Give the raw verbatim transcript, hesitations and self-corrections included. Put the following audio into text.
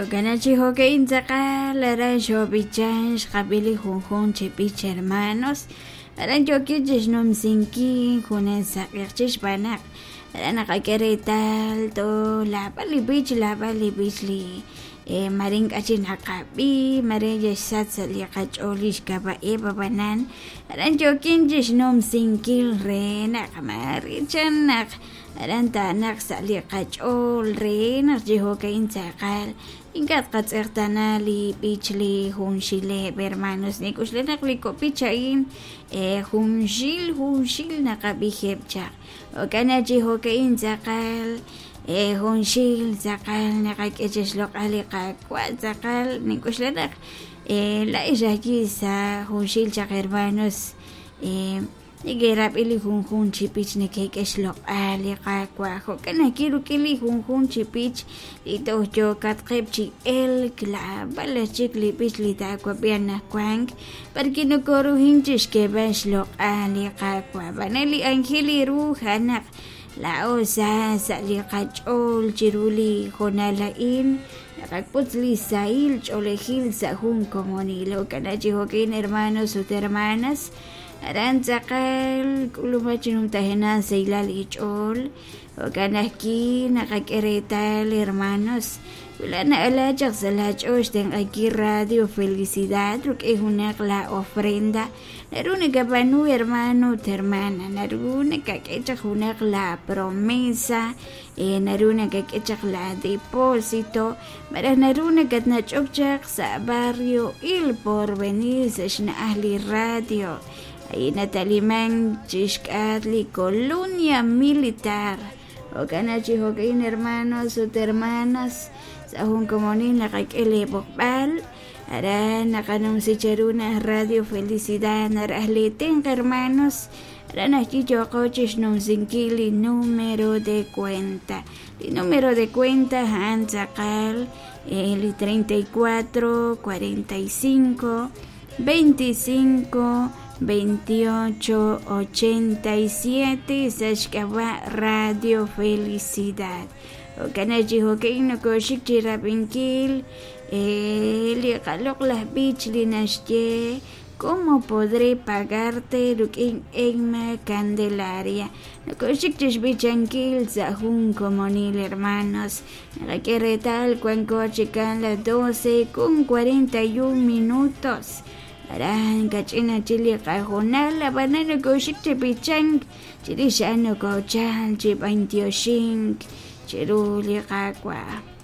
Jo'kan chi jo'ka'in tz'aqal aran xob'ichan xqab'i li junjun chi b'ich hermanos aran yookin chixnumsinkil junes saq'eq xb'aan naq aran naqak'e reetal to laab'al li b'ich laab'al li b'ich li eh, mare ink'a' chik naqab'i mare yaxsach sa' li qach'ool li xk'ab'a'eb ab'anan aran yookin chixnumsinkil re naq mare chan naq aran ta'naq sa' li qach'ool re naq chi jo'ka'in tz'aqal ink'a' tqatz'eqtana li b'ich li junxileb' hermanos nik'uxlej naq li kok' a'in eh, junxil junxil naqab'ijeb' chaq jo'kan chi jo'ka'in tz'aqal eh, junxil tz'aqal naqak'e chixloq'al li Qaawa' tz'aqal nik'uxlej naq eh, la'ix ajwi' sa' junxil chaq hermanos eh, neke'rab'i li junjun chi b'ich neke'k'e xloq'al li Qaawa' jo'kan ajwi' rik'in li junjun chi b'ich li toj yookatqeb' chi elk laab'al chik li b'ich li taawab'i anaqwan b'arki nokoruhin chixk'eeb'al xloq'al li Qaawa' b'an li anjel ru a'an naq laa'o sa sa' li qach'ool chiru li hoonal a'in naqak'ut li sahil ch'oolejil sa' jun komonil jo'kan chi jo'kin hermanos ut hermanas aran tz'aqal k'ulub'aj chi numtajenaq sahilal ich'ool jo'kan ajwi' naqak'e reetal hermanos wila na'ala chaq sa' la ch'ool xtenq'ankil Radio Felicidad rik'in junaq la ofrenda naru nakab'aanu hermano ut hermana naru nakak'e chaq junaq la promesa eh, naru nakak'e chaq la depósito malaj naru nakatnach'ok chaq sa' barrio Il Porvenir sa' xna'aj li radio ahí nataliman chixk'at li colonia militar jo'kan chi jo'kin hermanos ut hermanas sa' jun komonil naqak'e li b'oqb'al aran naqanumsi cheru naj Radio Felicidad naraj li tenq hermanos aran ajwi' yooqo chixnumsinkil li número de cuenta li número de cuenta a'an tz'aqal eh, li treinta y cuatro, cuarenta y cinco, veinticinco, veintiocho, ochenta y siete sa' xk'ab'a' Radio Felicidad jo'kan chi jo'kin nokoxik chi rab'inkil eh, li qaloq'laj b'ich li naxye ¿Cómo podré pagarte rik'in Emma Candelaria? Nokoxik chixb'ichankil sa' jun komonil hermanos naqak'e reetal wanko chikan las doce con cuarenta y un minutos aran kach'ina chi li qajonal ab'anan nokoxik chib'ichank chirix a'an nokochal chib'antioxink chiru li Qaawa'.